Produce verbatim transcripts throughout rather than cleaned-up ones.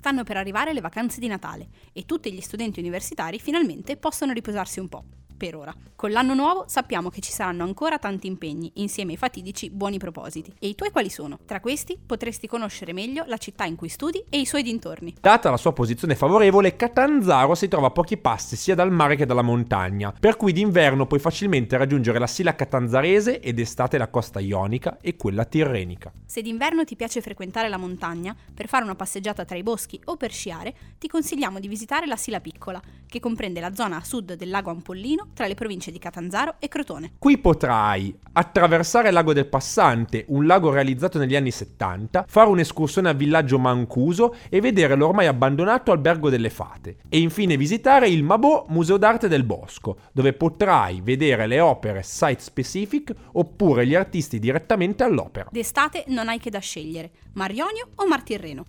Stanno per arrivare le vacanze di Natale e tutti gli studenti universitari finalmente possono riposarsi un po', per ora. Con l'anno nuovo sappiamo che ci saranno ancora tanti impegni, insieme ai fatidici buoni propositi. E i tuoi quali sono? Tra questi potresti conoscere meglio la città in cui studi e i suoi dintorni. Data la sua posizione favorevole, Catanzaro si trova a pochi passi sia dal mare che dalla montagna, per cui d'inverno puoi facilmente raggiungere la Sila Catanzarese ed estate la costa ionica e quella tirrenica. Se d'inverno ti piace frequentare la montagna, per fare una passeggiata tra i boschi o per sciare, ti consigliamo di visitare la Sila Piccola, che comprende la zona a sud del lago Ampollino tra le province di Catanzaro e Crotone. Qui potrai attraversare il Lago del Passante, un lago realizzato negli anni settanta, fare un'escursione al villaggio Mancuso e vedere l'ormai abbandonato Albergo delle Fate. E infine visitare il Mabò Museo d'Arte del Bosco, dove potrai vedere le opere site specific oppure gli artisti direttamente all'opera. D'estate non hai che da scegliere, Mar Ionio o Mar Tirreno.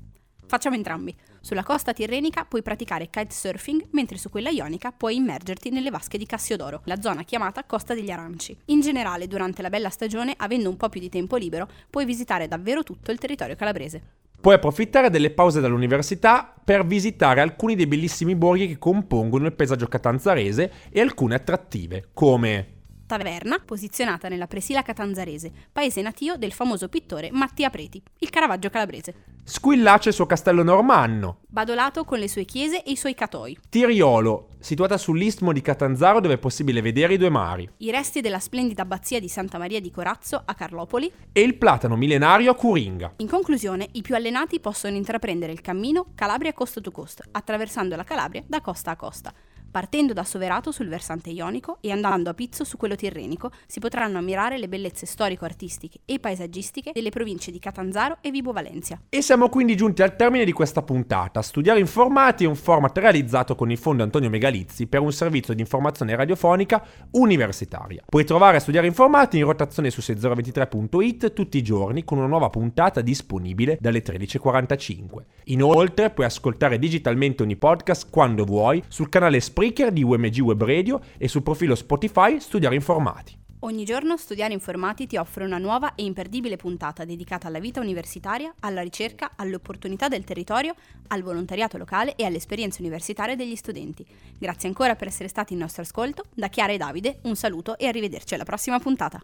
Facciamo entrambi. Sulla costa tirrenica puoi praticare kitesurfing, mentre su quella ionica puoi immergerti nelle vasche di Cassiodoro, la zona chiamata Costa degli Aranci. In generale, durante la bella stagione, avendo un po' più di tempo libero, puoi visitare davvero tutto il territorio calabrese. Puoi approfittare delle pause dall'università per visitare alcuni dei bellissimi borghi che compongono il paesaggio catanzarese e alcune attrattive, come Taverna, posizionata nella Presila Catanzarese, paese natio del famoso pittore Mattia Preti, il Caravaggio calabrese. Squillace il suo castello normanno. Badolato con le sue chiese e i suoi catoi. Tiriolo, situata sull'istmo di Catanzaro dove è possibile vedere i due mari. I resti della splendida abbazia di Santa Maria di Corazzo a Carlopoli. E il platano millenario a Curinga. In conclusione, i più allenati possono intraprendere il cammino Calabria Coast to Coast, attraversando la Calabria da costa a costa. Partendo da Soverato sul versante ionico e andando a Pizzo su quello tirrenico, si potranno ammirare le bellezze storico-artistiche e paesaggistiche delle province di Catanzaro e Vibo Valentia. E siamo quindi giunti al termine di questa puntata. Studiare Informati è un format realizzato con il fondo Antonio Megalizzi per un servizio di informazione radiofonica universitaria. Puoi trovare Studiare Informati in rotazione su sei zero ventitré punto it tutti i giorni con una nuova puntata disponibile dalle tredici e quarantacinque. Inoltre puoi ascoltare digitalmente ogni podcast quando vuoi sul canale Spreaker di U M G Web Radio e sul profilo Spotify Studiare Informati. Ogni giorno Studiare Informati ti offre una nuova e imperdibile puntata dedicata alla vita universitaria, alla ricerca, alle opportunità del territorio, al volontariato locale e alle esperienze universitarie degli studenti. Grazie ancora per essere stati in nostro ascolto. Da Chiara e Davide un saluto e arrivederci alla prossima puntata.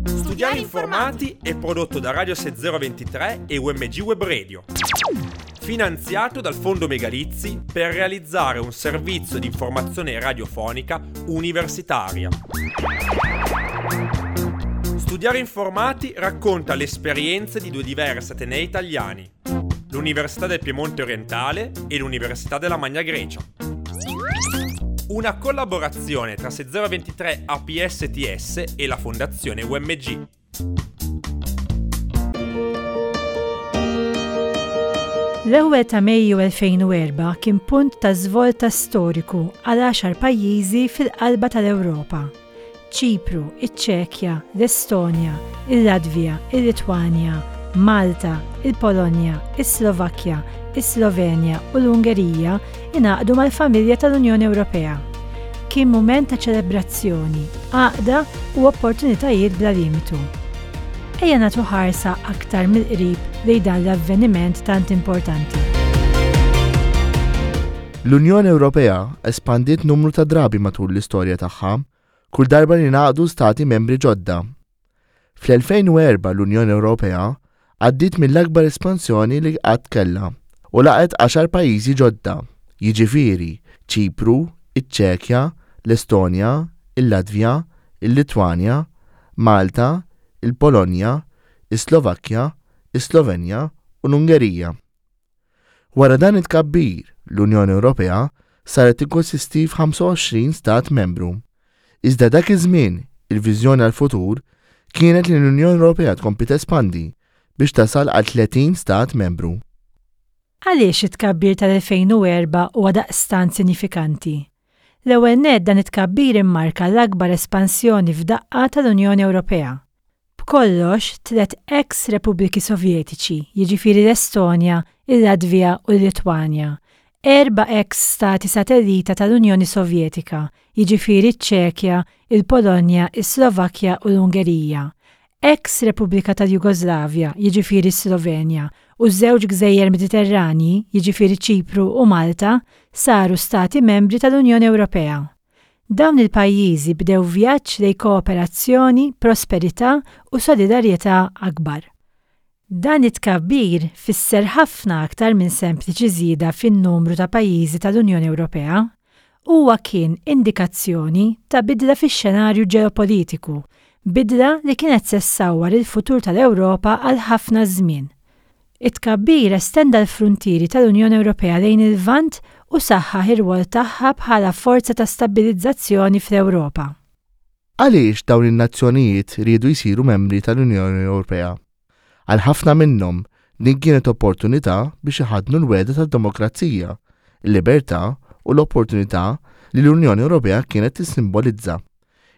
Studiare Informati è prodotto da Radio sei zero ventitré e U M G Web Radio. Finanziato dal Fondo Megalizzi per realizzare un servizio di informazione radiofonica universitaria. Studiare Informati racconta le esperienze di due diversi atenei italiani, l'Università del Piemonte Orientale e l'Università della Magna Grecia. Una collaborazione tra sei zero ventitré A P S T S e la Fondazione U M G. L-ewwel ta' Mejju elfejn u erba' kien punt ta' svolta storiku għal għaxar pajjiżi fil-qalba tal-Ewropa. Ċipru, iċ-Ċekja, l-Estonja, il-Latvja, il-Litwanja, Malta, il-Polonja, is-Slovakkja, is-Slovenja u l-Ungerija ingħaqdu mal-familja tal-Unjoni Ewropea. Kien mument ta' ċelebrazzjoni, għaqda u opportunitajiet bla limitu. Ejja nagħtu ħarsa aktar mill-qrib lejn dan l-avveniment tant importanti. L-Unjoni Ewropea espandiet numru ta' drabi matul l-istorja tagħha, kull darba li ngħaqdu stati membri ġodda. Fl-elfejn u erba' l-Unjoni Ewropea għaddiet mill-akbar espansjoni li qatt kellha u laqgħet għaxar pajjiżi ġodda, jiġifieri Ċipru, iċ-Ċekja, l-Estonja, il-Latvja, il-Litwanja, Malta, il-Polonja, is-Slovakkja, is-Slovenja u l-Ungerija. Wara dan it-tkabbir, l-Unjoni Ewropea saret tikkonsisti f'ħamsa u għoxrin stat membru. Iżda dak iż-żmien, il-viżjoni għall-futur kienet li l-Unjoni Ewropea tkompli tespandi biex tasal għal tletin stat membru. Għaliex it-tkabbir tal-elfejn u erba' huwa daqstant sinifikanti? L-ewwel nett dan it-tkabbir immarka l-akbar espansjoni f'daqqa tal-Unjoni Ewropea. B'kollox, tliet ex-Repubbliki Sovjetiċi, jiġifieri l-Estonja, il-Latvja u l-Litwanja, erba' ex-stati satellita tal-Unjoni Sovjetika, jiġifieri ċ-Ċekja, il-Polonja, is-Slovakkja u l-Ungerija, Ex Repubblika tal-Jugoslavja, jiġifieri Slovenja, u żewġ gżejjer Mediterranji, jiġifieri Ċipru u Malta, saru stati membri tal-Unjoni Ewropea. Dawn il-pajjiżi bdew vjaġġ lejn kooperazzjoni, prosperità u solidarjetà akbar. Dan it-tkabbir fisser ħafna aktar minn sempliċi żieda fin-numru ta' pajjiżi tal-Unjoni Ewropea. Huwa kien indikazzjoni ta' bidla fix-xenarju ġeopolitiku, bidla li kienet se ssawwar il-futur tal-Ewropa għal ħafna żmien. It-tkabbir estenda l-fruntieri tal-Unjoni Ewropea lejn il-Lvant u saħħaħ ir-rwol tagħha bħala forza ta' stabbilizzazzjoni fl-Ewropa. Għaliex dawn in-nazzjonijiet riedu jsiru membri tal-Unjoni Ewropea? Għal ħafna minnhom din kienet opportunità biex iħaddnu l-wegħda tad-demokrazija, il-libertà u l-opportunità li l-Unjoni Ewropea kienet tissimbolizza.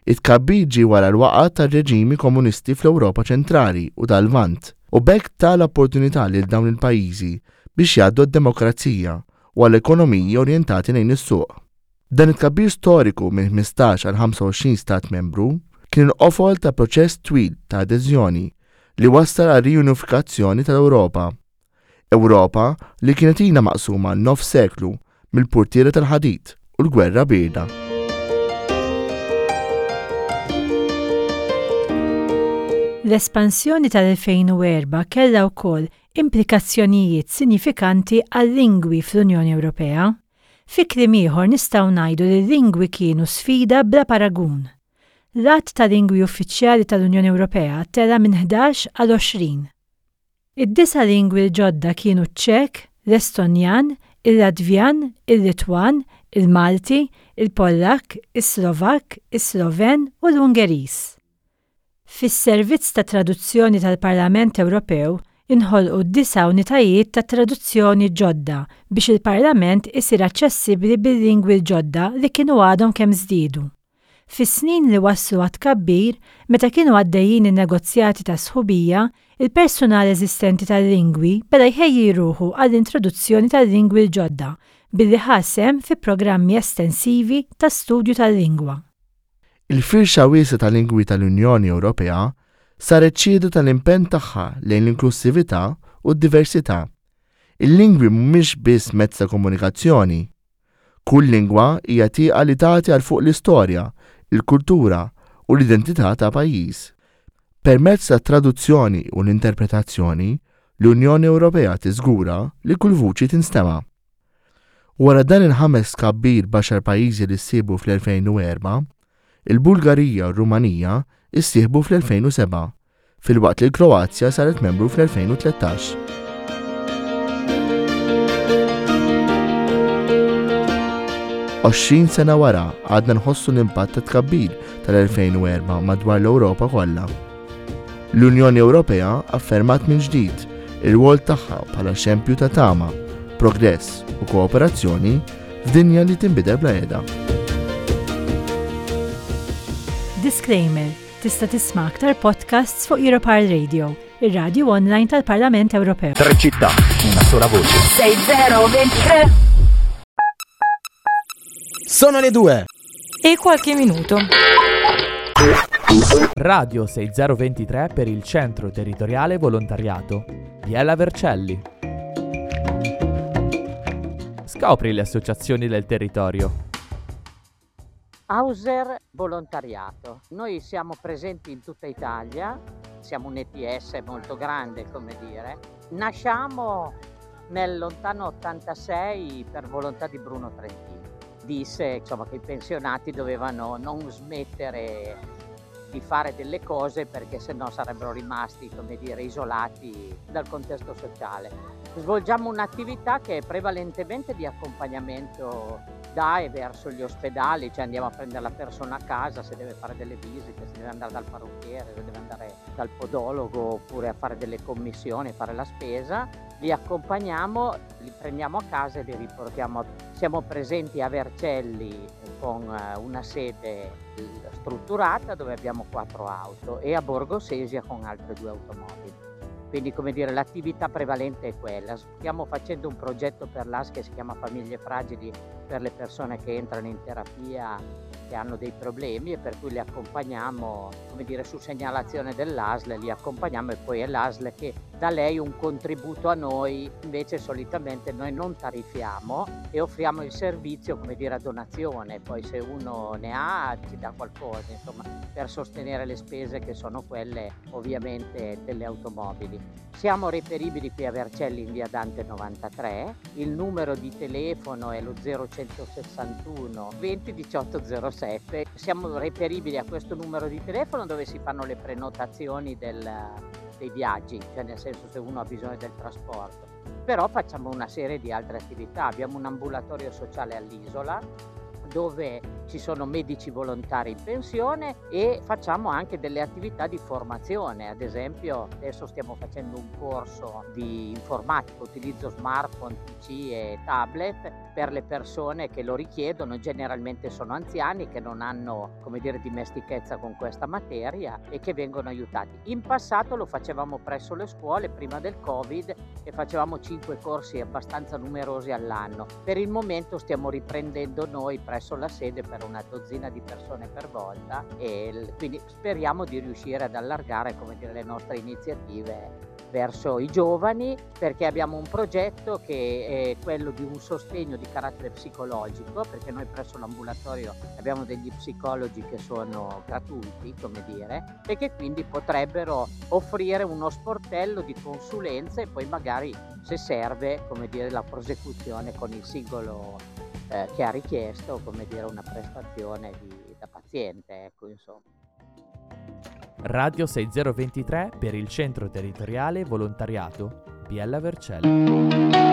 It-tkabbir ġie wara l-waqgħa tar-reġimi komunisti fl-Ewropa ċentrali u tal-Lvant u b'hekk ta l-opportunità lil dawn il-pajjiżi biex jgħaddu għad-demokrazija u għal ekonomiji orjentati lejn is-suq. Dan it-tkabbir storiku minn ħmistax għal ħamsa u għoxrin stat membru kien il-qofol ta' proċess twil ta' adeżjoni li wassal għal riunifikazzjoni tal-Ewropa. Ewropa li kienet ilha maqsuma nofs seklu mill-purtiera tal-ħadid u l-gwerra bierda. L-espansjoni tal-elfejn u erba' kellha wkoll implikazzjonijiet sinifikanti għal-lingwi fl-Unjoni Ewropea. Fi kliem ieħor nistgħu ngħidu li l-lingwi kienu sfida bla paragun. L-għadd ta' lingwi uffiċjali tal-Unjoni Ewropea tela' minn ħdax għal għoxrin. Id-disa' lingwi l-ġodda kienu ċ-Ċek, l-Estonjan, il-Latvjan, il-Litwan, il-Malti, il-Pollak, is-Slovak, is-Sloven u l-Ungeriż. Fis-servizz ta' traduzzjoni tal-Parlament Ewropew inħolqu disa' unitajiet ta' traduzzjoni ġodda biex il-Parlament isir aċċessibbli bil-lingwi l-ġodda li kienu għadhom kemm żdiedu. Fis-snin li waslu għat-tkabbir, meta kienu għaddejjin in-negozjati ta' sħubija, il-personal eżistenti tal-lingwi beda jħejji ruħu għall-introduzzjoni tal-lingwi l-ġodda billi ħa sehem fi programmi estensivi ta' studju tal-lingwa. Il-firxa wiesgħa tal-lingwi tal-Unjoni Ewropea saret xhieda tal-impenn tagħha lejn l-inklusività u d-diversità. Il-lingwi mhumiex biss mezz ta' komunikazzjoni. Kull lingwa hija tieqa li tagħti għal fuq l-istorja, il-kultura u l-identità ta' pajjiż. Permezz ta' traduzzjoni u l-interpretazzjoni, l-Unjoni Ewropea tiżgura li kull vuċi tinstema'. Wara dan il-ħames tkabbir b'għaxar pajjiżi li ssieħbu fl-elfejn u erba', il-Bulgarija u r-Rumanija issieħbu fl-elfejn u seba', filwaqt li l-Kroazja saret membru fl-elfejn u tlettax. Għoxrin sena wara għadna nħossu l-impatt ta' tkabbir tal-elfejn u erba' madwar l-Ewropa kollha. L-Unjoni Ewropea affermat minn ġdid ir-rwol tagħha bħala xempju ta' tama, progress u kooperazzjoni f'dinja li tinbidel bla qiegħda. Disclaimer, tista' tisma' aktar podcasts fuq Europarl Radio, ir-radju online tal-Parlament Ewropew. Tre città, una sola voce. Sei zero ventitré. Sono le due. E qualche minuto. Radio sei zero ventitré per il Centro Territoriale Volontariato. Biella Vercelli. Scopri le associazioni del territorio. Auser Volontariato. Noi siamo presenti in tutta Italia, siamo un E T S molto grande, come dire. Nasciamo nel lontano ottantasei per volontà di Bruno Trentini. Disse, insomma, che i pensionati dovevano non smettere di fare delle cose perché sennò sarebbero rimasti, come dire, isolati dal contesto sociale. Svolgiamo un'attività che è prevalentemente di accompagnamento da e verso gli ospedali, cioè andiamo a prendere la persona a casa se deve fare delle visite, se deve andare dal parrucchiere, se deve andare dal podologo oppure a fare delle commissioni, a fare la spesa. Li accompagniamo, li prendiamo a casa e li riportiamo. Siamo presenti a Vercelli con, eh, una sede strutturata dove abbiamo quattro auto e a Borgo Sesia con altre due automobili. Quindi, come dire, l'attività prevalente è quella. Stiamo facendo un progetto per l'A S che si chiama Famiglie Fragili, per le persone che entrano in terapia che hanno dei problemi e per cui li accompagniamo, come dire, su segnalazione dell'A S L, li accompagniamo e poi è l'A S L che dà lei un contributo a noi. Invece solitamente noi non tariffiamo e offriamo il servizio, come dire, a donazione, poi se uno ne ha ci dà qualcosa, insomma, per sostenere le spese che sono quelle ovviamente delle automobili. Siamo reperibili qui a Vercelli in via Dante novantatré, il numero di telefono è lo zero centosessantuno venti diciotto zero sette. Siamo reperibili a questo numero di telefono dove si fanno le prenotazioni del, dei viaggi, cioè nel senso se uno ha bisogno del trasporto. Però facciamo una serie di altre attività, abbiamo un ambulatorio sociale all'isola dove ci sono medici volontari in pensione e facciamo anche delle attività di formazione. Ad esempio adesso stiamo facendo un corso di informatica, utilizzo smartphone, P C e tablet per le persone che lo richiedono, generalmente sono anziani che non hanno, come dire, dimestichezza con questa materia e che vengono aiutati. In passato lo facevamo presso le scuole prima del Covid e facevamo cinque corsi abbastanza numerosi all'anno. Per il momento stiamo riprendendo noi presso la sede per una dozzina di persone per volta e quindi speriamo di riuscire ad allargare, come dire, le nostre iniziative verso i giovani, perché abbiamo un progetto che è quello di un sostegno di carattere psicologico, perché noi presso l'ambulatorio abbiamo degli psicologi che sono gratuiti, come dire, e che quindi potrebbero offrire uno sportello di consulenza e poi magari, se serve, come dire, la prosecuzione con il singolo, eh, che ha richiesto, come dire, una prestazione di, da paziente, ecco, insomma. Radio sei zero ventitré per il Centro Territoriale Volontariato Biella Vercelli.